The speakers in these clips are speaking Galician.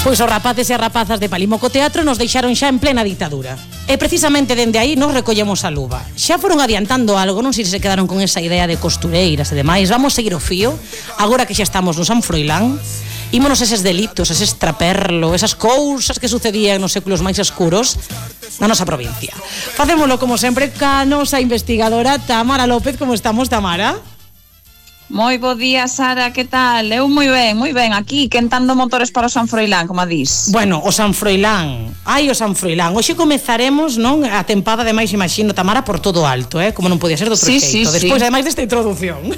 Pois os rapaces e as rapazas de Palimoco Teatro nos deixaron xa en plena ditadura. E precisamente dende aí nos recollemos a luva. Xa foron adiantando algo, non sei se se quedaron con esa idea de costureiras e demais. Vamos seguir o fío, agora que xa estamos no San Froilán. Ímonos eses delitos, ese extraperlo, esas cousas que sucedían nos séculos máis escuros na nosa provincia. Facémolo como sempre ca nosa investigadora Tamara López. Como estamos, Tamara? Moi bo día, Sara, que tal? Eu moi ben, aquí, quentando motores para o San Froilán, como a dis. Bueno, o San Froilán, o San Froilán. Hoxe comezaremos, non, a tempada de máis, imagino, Tamara, por todo alto, como non podía ser de outro xeito. Despois, ademais desta introdución.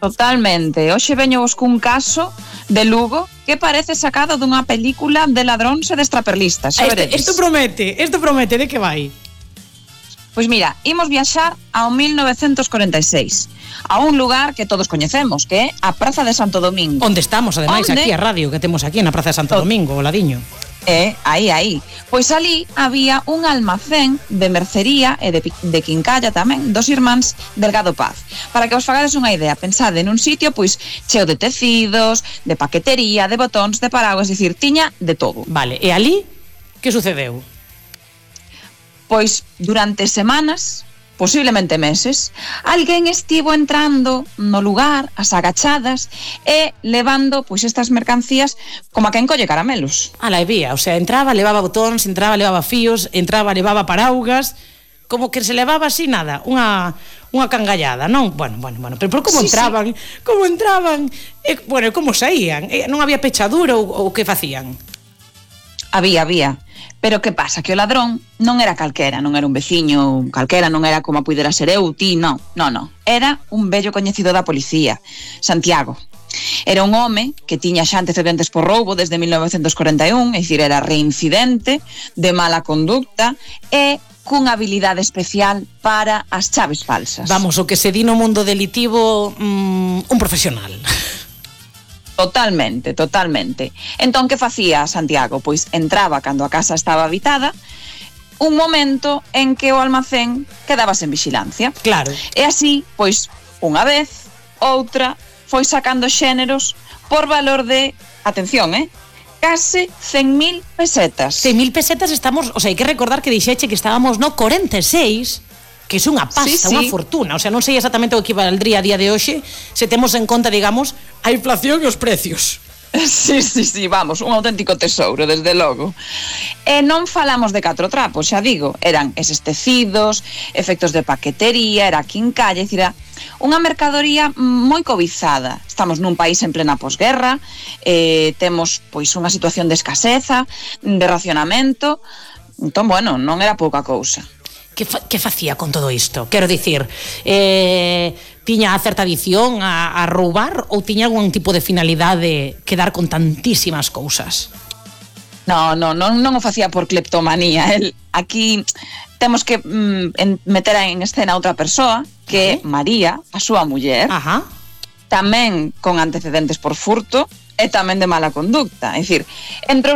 Totalmente. Hoxe veño vos cun caso de Lugo que parece sacado dunha película de ladróns e de extraperlistas. Isto promete, de que vai? Pois mira, imos viaxar ao 1946, a un lugar que todos coñecemos, que é a Praza de Santo Domingo. Onde estamos, ademais, aquí a radio que temos aquí na Praza de Santo Domingo, o ladiño. Aí. Pois ali había un almacén de mercería e de quincalla tamén dos irmáns Delgado Paz. Para que vos fagades unha idea, pensade nun sitio pois cheo de tecidos, de paquetería, de botóns, de paraguas, dicir, tiña de todo. Vale, e ali que sucedeu? Pois durante semanas, posiblemente meses, alguén estivo entrando no lugar, as agachadas, e levando pois estas mercancías como a quen colle caramelos. E vía, o sea, entraba, levaba botóns, entraba, levaba fíos, entraba, levaba paraugas, como que se levaba así nada, unha cangallada, non? Bueno, pero como entraban? Sí. Como entraban? Como saían? Non había pechadura ou que facían? Había. Pero que pasa? Que o ladrón non era calquera, non era un veciño calquera, non era como pudera ser eu, ti, non. Era un vello coñecido da policía, Santiago. Era un home que tiña xa antecedentes por roubo desde 1941, é dicir, era reincidente, de mala conducta e cunha habilidade especial para as chaves falsas. Vamos, o que se di no mundo delitivo, un profesional. Totalmente. Entón, que facía Santiago? Pois entraba cando a casa estaba habitada, un momento en que o almacén quedaba sen vixilancia. Claro. E así, pois, unha vez, outra, foi sacando xéneros por valor de, atención, case 100.000 pesetas. 100.000 pesetas estamos, o sea, hai que recordar que dixeche que estábamos no 46, que é unha pasta, unha fortuna. O sea, non sei exatamente o que valdría a día de hoxe se temos en conta, digamos, a inflación e os precios. Sí, vamos, un auténtico tesouro, desde logo. E non falamos de 4 trapos, xa digo, eran eses tecidos, efectos de paquetería, era quincalla, é dicir, unha mercadoría moi cobizada. Estamos nun país en plena posguerra, temos pois unha situación de escaseza, de racionamento, entón, bueno, non era pouca cousa. Que facía con todo isto? Quero dicir, tiña certa adición a roubar ou tiña algún tipo de finalidade quedar con tantísimas cousas? Non o facía por cleptomanía. Aquí temos que meter en escena outra persoa, que é María, a súa muller, tamén con antecedentes por furto e tamén de mala conducta. É dicir, entre os